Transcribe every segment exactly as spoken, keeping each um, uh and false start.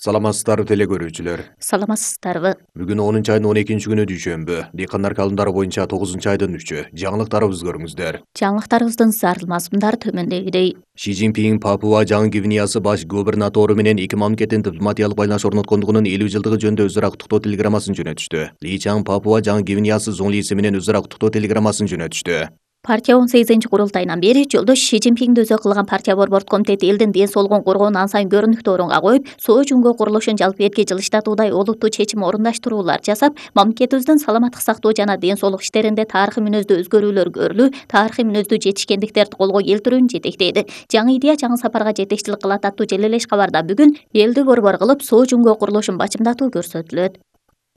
Саламатсыздарбы теле көрүүчүлөр. Саламатсыздарбы. Бүгүн онунчу айдын он экинчи күнү дүйшөмбү. Дыйкандар калымдары боюнча тогузунчу айдын үчү. Жаңылыктарыбызды көрүңүздөр. Жаңылыктарыбыздын зарыл мазмундары төмөндөгүдөй. Ши Цзиньпин Папуа Жаңы Гвинеясы баш губернатору менен эки мамлекеттин дипломатиялык байланыш орноткондугунун элүү жылдыгы жөнүндө өз ара куттуктоо телеграммасын жөнөтүштү. Ли Чаң Папуа Жаңы Гвинеясы зоңлиси менен өз ара куттуктоо телеграммасын жөнөтүштү. Партия он сегизинчи курултайынан бери жолдош Ши Цзиньпинди өзү кылган партия борбордук комитети элдин ден соолугун коргоонун ан сайын көрүнүктүү орунга коюп, Соо Жүнгө курулушун жалпы эркин жылыштатуудай олуттуу чечим орундаштыруулар жасап, мамлекетибиздин саламаттык сактоо жана ден соолук иштеринде тарыхый мүнөздүү өзгөрүүлөр көрүлүү, тарыхый мүнөздүү жетишкендиктерди колго келтирүүнү жетектейди. Жаңы идея жаңы сапарга жетекчилик кылат аттуу желелеш кабарда бүгүн элди борбор кылып Соо Жүнгө курулушун бачымдатуу көрсөтүлөт.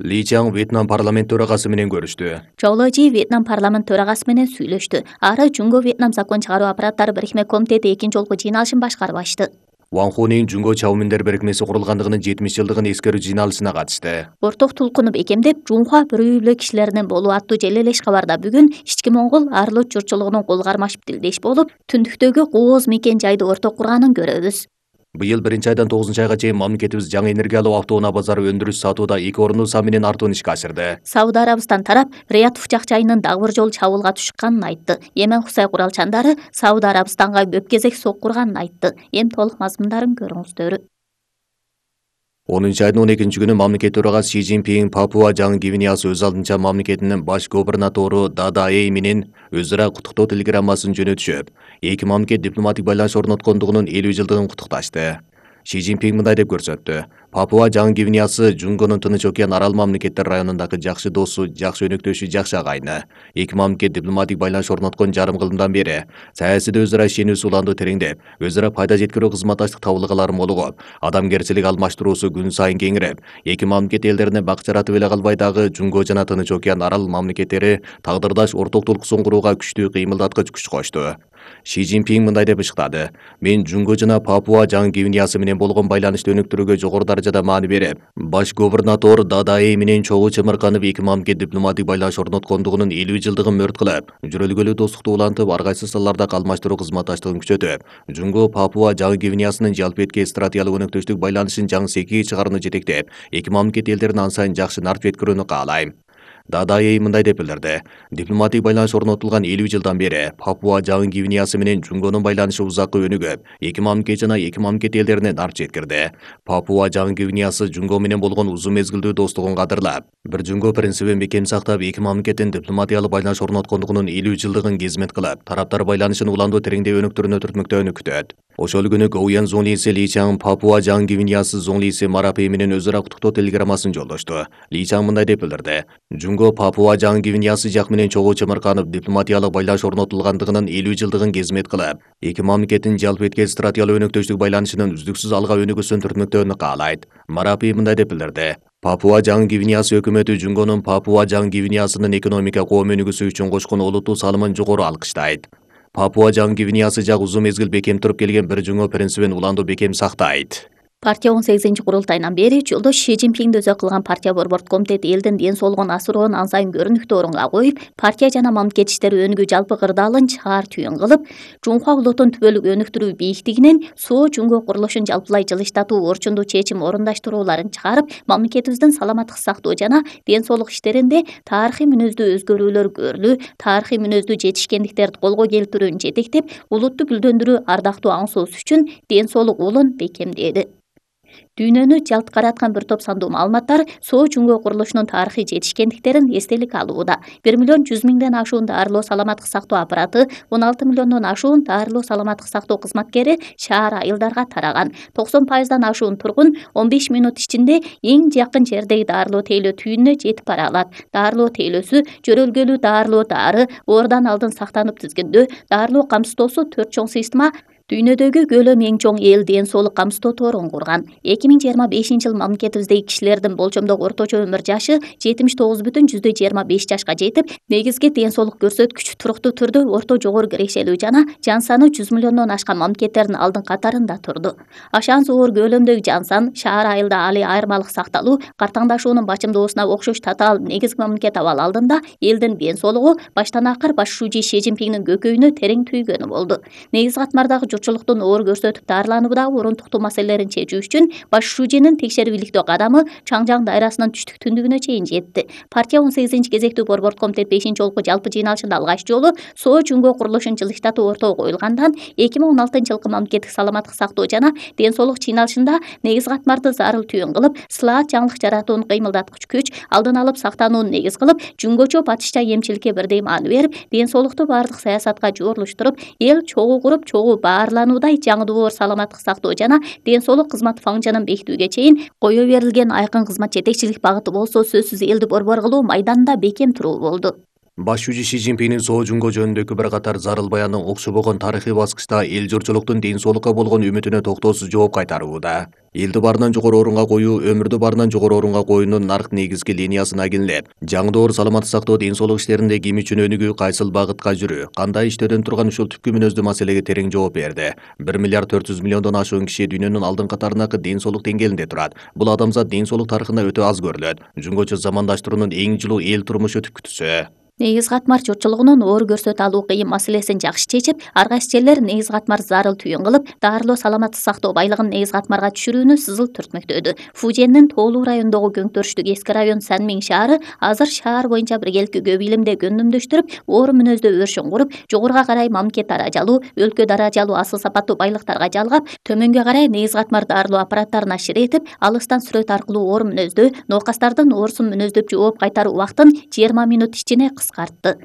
Ли Чаң Вьетнам парламент төрагасы менен көрүштү. Чоу Лежи Вьетнам парламент төрагасы менен сүйлөштү. Ары Жүнгө Вьетнам закон чыгаруу аппараттары бирикме комитети экинчи жолку жыйналышын башкарып ачты. Ван Хунин Жүнгө Чауминдер бирикмеси курулгандыгынын жетимиш жылдыгын эскерүү жыйналышына катышты. Орток тулкуну бекемдеп, Жунхуа бирөө эле кишилеринен болуу аттуу желелеш кабарда бүгүн ички моңгол Арлот журтчулугунун кол кармашып тилдеш болуп, түндүктөгү кооз мекен жайды орток курганын көрөбүз. Быйыл биринчи айдан тогузунчу айга чейин мамлекетибиз жаңы энергиялуу автоунаа базары өндүрүш сатууда эки орунду сан менен артуун ишке ашырды. Сауд Арабистан тарап Рият Фучак чайынын дагы бир жолу чабуулга түшкөнүн айтты. Йемен Хусай куралчандары Сауд Арабистанга бөпкезек соккурганын айтты. Эми толук мазмундарын көрүңүздөр. онунчу айдын он экинчи күнү мамлекет төрагасы Ши Цзиньпин Папуа Жаңы Гвинеясы өз алдынча мамлекетинин баш губернатору Дада Эй менен өз ара куттуктоо телеграммасын жөнөтүшүп, эки мамлекет дипломатик байланыш орноткондугунун элүү жылдыгын куттукташты. Ши Цзиньпин мындай деп көрсөттү. Папуа Жаңы Гвинеясы Жүнгөнүн Тынч океан арал мамлекеттер районундагы жакшы досу, жакшы өнөктөшү, жакшы агайыны. Эки мамлекет дипломатик байланыш орноткон жарым кылымдан бери саясийде өз ара ишенүү суландуу тереңдеп, өз ара пайда жеткирүү кызматташтык табылгалары молугуп, адамгерчилик алмаштыруусу күн сайын кеңирип, эки мамлекет элдерине бак жаратып эле калбай дагы Жүнгө жана Тынч океан арал мамлекеттери тагдырдаш орток тулкуусун курууга күчтүү кыймылдаткыч күч кошту. Ши Цзиньпин мындай деп ышыктады. Мен Жүнгө жана Папуа Жаңы Гвинеясы менен болгон байланышты өнүктүрүүгө жогору даражада маани берип, баш губернатор Дада Эй менен чогуу чымырканып эки мамлекет дипломатик байланыш орноткондугунун элүү жылдыгын мөрт кылып, жүрөлгөлүү достукту улантып, ар кайсы салаларда алмаштыруу кызматташтыгын күчөтүп, Жүнгө Папуа Жаңы Гвинеясынын жалпы эркин стратегиялык өнөктөштүк байланышын жаңы секиге чыгарууну жетектеп, эки мамлекет элдерин ан сайын жакшы нарп жеткирүүнү каалайм. Дада Эй мындай деп билдирди. Дипломатик байланыш орнотулган элүү жылдан бери Папуа Жаңы Гвинеясы менен Жүнгөнүн байланышы узакка өнүгүп, эки мамлекет жана эки мамлекет элдерине нарп жеткирди. Папуа Жаңы Гвинеясы Жүнгө менен болгон узун мезгилдүү достугун кадырлап, бир Жүнгө принцибин бекем сактап, эки мамлекеттин дипломатиялык байланыш орноткондугунун элүү жылдыгын кызмет кылып, тараптар байланышын уландуу тереңдеп өнүктүрүүнү түртмөктөөнү күтөт. Ошол күнү Гоуян зоңлиси Ли Чаң Папуа Жаңы Гвинеясы зоңлиси Марапей менен өз ара куттуктоо телеграммасын жолдошту. Ли Чаң мындай деп билдирди. Жүнгө Папуа Жаңы Гвинеясы жак менен чогуу чымырканып, дипломатиялык байланыш орнотулгандыгынын элүү жылдыгын кызмет кылып, эки мамлекеттин жалпы эркин стратегиялык өнөктөштүк байланышынын үздүксүз алга өнүгүүсүн түртмөктөөнү каалайт. Марапей мындай деп билдирди. Папуа Жаңы Гвинеясы өкмөтү Жүнгөнүн Папуа Жаңы Гвинеясынын экономика коом өнүгүүсү үчүн кошкон олуттуу салымын жогору алкыштайт. Папуа Жаңы Гвинеясы жак узун мезгил бекем туруп келген бир Жүнгө принцибин уландуу бекем сактайт. Партия он сегизинчи курултайынан бери жолдош Ши Цзиньпинди өзү кылган партия борбордук комитети элдин ден соолугун асыроонун ан сайын көрүнүктүү орунга коюп, партия жана мамлекет иштери өнүгүү жалпы кырдаалын чаар түйүн кылып, Жунхуа улутун түбөлүк өнүктүрүү бийиктигинен Соо Жүнгө курулушун жалпылай жылыштатуу орчундуу чечим орундаштырууларын чыгарып, мамлекетибиздин саламаттык сактоо жана ден соолук иштеринде тарыхый мүнөздүү өзгөрүүлөр көрүлүү, тарыхый мүнөздүү жетишкендиктерди колго келтирүүнү жетектеп, улутту гүлдөндүрүү ардактуу аң соос үчүн ден соолук улун бекемдеди. Дүйнөнү жалт караткан бир топ сандуу маалыматтар Соо Жүнгө курулушунун тарыхый жетишкендиктерин эстелик алууда. бир миллион жүз миңден ашуун дарылоо саламаттык сактоо аппараты, он алты миллиондон ашуун дарылоо саламаттык сактоо кызматкери шаар айылдарга тараган. токсон пайыздан ашуун тургун он беш мүнөт ичинде эң жакын жердеги дарылоо тейлөө түйүнүнө жетип бара алат. Дарылоо тейлөөсү жөрөлгөлүү дарылоо дары, оорудан алдын сактанып тизгиндөө, дарылоо камсыздоосу төрт чоң система дүйнөдөгү көлөм эң чоң эл ден соолук камсыздоо торун курган. эки миң жыйырма бешинчи жыл мамлекетибиздеги кишилердин болжомдогу орточо өмүр жашы жетимиш тогуз бүтүн жүздөй жыйырма беш жашка жетип, негизги ден соолук көрсөткүч туруктуу түрдө орто жогору кирешелүү жана жан саны жүз миллиондон ашкан мамлекеттердин алдын катарында турду. Ашан зоор көлөмдөгү жан сан, шаар айылда али айырмалык сакталуу, картаңдашуунун бачымдоосуна окшош татаал негизги мамлекет абал алдында элдин ден соолугу баштан акыр баш шужи Ши Цзиньпиндин көкөйүнө терең түйгөнү болду. Негиз катмардагы журтчулуктун оор көрсөтүп дарылануудагы орунтуктуу маселелерин чечүү үчүн баш шуженин текшерип иликтөө кадамы Чаңжаң дайрасынын түштүк түндүгүнө чейин жетти. Партия он сегизинчи кезектүү борбордук комитет бешинчи жолку жалпы жыйналышында алгач жолу соо жүнгө курулушун жылыштатуу ортого коюлгандан эки миң он алтынчы жылкы мамлекеттик саламаттык сактоо жана ден соолук жыйналышында негиз катмарды зарыл түйүн кылып, сылаат жаңылык жаратууну кыймылдаткыч күч, алдын алып сактанууну негиз кылып, жүнгөчө батышча эмчиликке бирдей маани берип, ден соолукту баардык саясатка жоорлуштуруп, эл чогуу куруп, чогуу баарлануудай жаңы долбоор саламаттык сактоо жана ден соолук кызмат фаңжынын бекитүүгө чейин кое берилген айкын кызмат жетекчилик багыты болсо сөзсүз элди борбор кылуу майданында бекем туруу болду. Баш шужи Си Цзиньпиндин соо жүнгө жөнүндөгү бир катар зарыл баянын окшобогон тарыхый баскычта эл журтчулуктун ден соолукка болгон үмүтүнө токтоосуз жооп кайтарууда. Элди баарынан жогору орунга коюу, өмүрдү баарынан жогору орунга коюунун нарк негизги линиясына кеңлеп, жаңы долбоор саламаттык сактоо ден соолук иштеринде ким үчүн өнүгүү, кайсыл багытка жүрүү, кандай иштөөдөн турган ушул түпкү мүнөздүү маселеге терең жооп берди. бир миллиард төрт жүз миллиондон ашуун киши дүйнөнүн алдыңкы катарындагы ден соолук деңгээлинде турат. Бул адамзат ден соолук тарыхында өтө аз көрүлөт. Жүнгөчө замандаштыруунун эң жылуу эл турмушу түпкүтүсү. Негиз катмар журтчулугунун оор көрсөтү алуу кыйын маселесин жакшы чечип, ар кайсы жерлер негиз катмар зарыл түйүн кылып, дарылоо саламаттык сактоо байлыгын негиз катмарга түшүрүүнү сызыл түртмөктөдү. Фуженин Тоолуу районундагы Көңтөрүштүк эски район Санмиң шаары азыр шаар боюнча биргеликти көп илимде гөндүмдөштүрүп, оор мүнөздүү өршүн куруп, жогоруга карай мамлекет даражалуу, өлкө даражалуу асыл сапаттуу байлыктарга жалгап, төмөнгө карай негиз катмар дарылоо аппараттарын ашир этип, алыстан сүрөт аркылуу оор мүнөздүү, ноокастардын оорусун мүнөздөп жооп кайтаруу убактын жыйырма минут ичине кыскартты.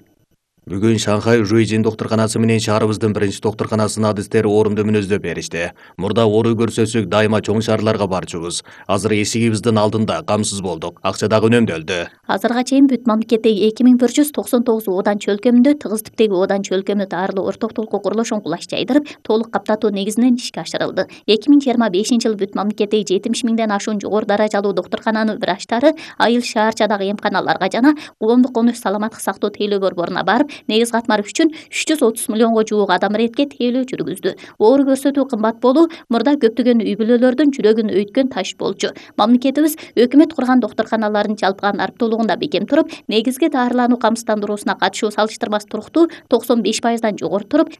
Бүгүн Шанхай Жуйжин доктурканасы менен шаарыбыздын биринчи доктурканасына адистер орунду мүнөздөп беришти. Мурда оору көрсөтсөк дайыма чоң шаарларга барчубуз. Азыр эшигибиздин алдында камсыз болдук. Акча дагы үнөмдөлдү. Азырга чейин бүт мамлекеттеги эки миң бир жүз токсон тогуз оодан чөлкөмүндө тыгыз типтеги оодан чөлкөмү дарылоо ортоктулукку курулушун кулаш жайдырып, толук каптатуу негизинен ишке ашырылды. эки миң жыйырма бешинчи жылы бүт мамлекеттеги жетимиш миңден ашуун жогору даражалуу доктуркананын врачтары айыл шаарчадагы эмканаларга жана коомдук конуш саламаттык сактоо тейлөө борборуна барып, негиз катмар үчүн үч жүз отуз миллионго жуук адам иретке тейлөө жүргүздү. Оор көрсөтүү кымбат болуу мурда көптөгөн үй бүлөлөрдүн жүрөгүн өйткөн таш болчу. Мамлекетибиз өкмөт курган доктурканалардын жалпыга нарптуулугунда бекем туруп, негизги дарылануу камсыздандыруусуна катышуу салыштырмасы туруктуу токсон беш пайыздан жогору туруп,